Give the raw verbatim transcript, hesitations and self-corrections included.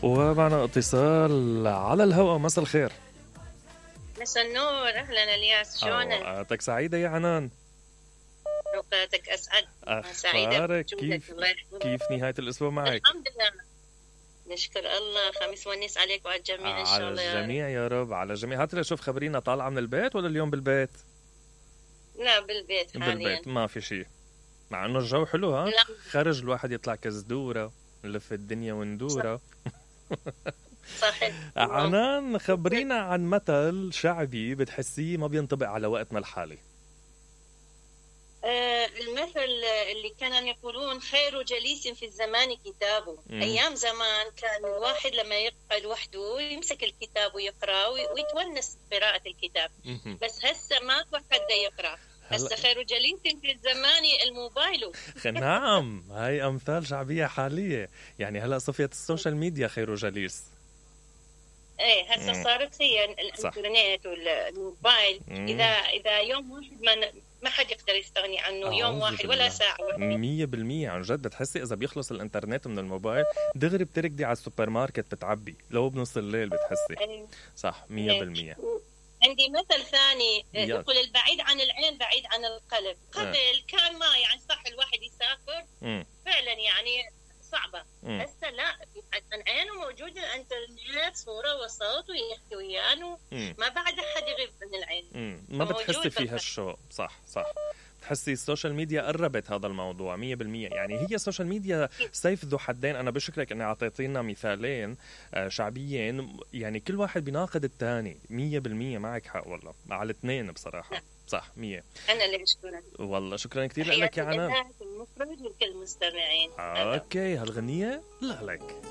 ومعنا اتصال على الهواء. مساء الخير. مساء النور، اهلا الياس، شلونك؟ اوقاتك سعيدة يا عنان. اوقاتك اسعد. اخبارك كيف؟ كيف نهاية الاسبوع معك؟ الحمد لله، نشكر الله. خميس ونيس عليك وعلى الجميع ان شاء الله. على الجميع يا رب، على الجميع. هات لي شوف، خبرينا، طالعة من البيت ولا اليوم بالبيت؟ لا بالبيت حاليا. بالبيت ما في شيء، مع انه الجو حلو. ها لا. خرج الواحد يطلع كزدورة، نلف الدنيا وندورة. صحيح. عنان، خبرينا عن مثل شعبي بتحسيه ما بينطبق على وقتنا الحالي. آه المثل اللي كانوا يقولون خير جليس في الزمان كتابه. مم. ايام زمان كان الواحد لما يقعد وحده يمسك الكتاب ويقرا ويتونس بقراءة الكتاب. مهم. بس هسه ماكو حد يقرا. هسه خير جليس في الزمان الموبايل. نعم، هاي أمثال شعبية حالية. يعني هلأ صفيت السوشيال ميديا خير جليس. ايه هسه صارت هي الانترنت والموبايل. مم. اذا اذا يوم واحد ما ما حد يقدر يستغني عنه. يوم واحد ولا ساعه واحده. مية بالمية عن جد. بتحسي إذا بيخلص الإنترنت من الموبايل دغري بتركضي على السوبر ماركت بتعبي لو بنص الليل. بتحسي إيه. صح مية بالمية. عندي مثل ثاني يلا. يقول البعيد عن العين بعيد عن القلب. قبل آه. كان ما يعني صح الواحد يسافر مم. فعلا يعني صعبة. مم. هسه لا، عن عينه موجود الانترنت، صورة وصوت ويحكي ويانا. مم. ما بعد أحد يغيب من العين. مم. ما موجود بتحسي فيها بالخ- الشوق. صح صح. بتحسي السوشيال ميديا قربت هذا الموضوع مية بالمية. يعني هي السوشيال ميديا سيف ذو حدين. أنا بشكرك أني أعطيتينا مثالين آه، شعبيين، يعني كل واحد بيناقض الثاني. مية بالمية معك حق والله، على الاثنين بصراحة. نعم. صح مية. أنا اللي أشكرك. والله شكرا كثير لك يا عنان. المخرج وكل المستمعين. اوكي، هالغنية لا لك.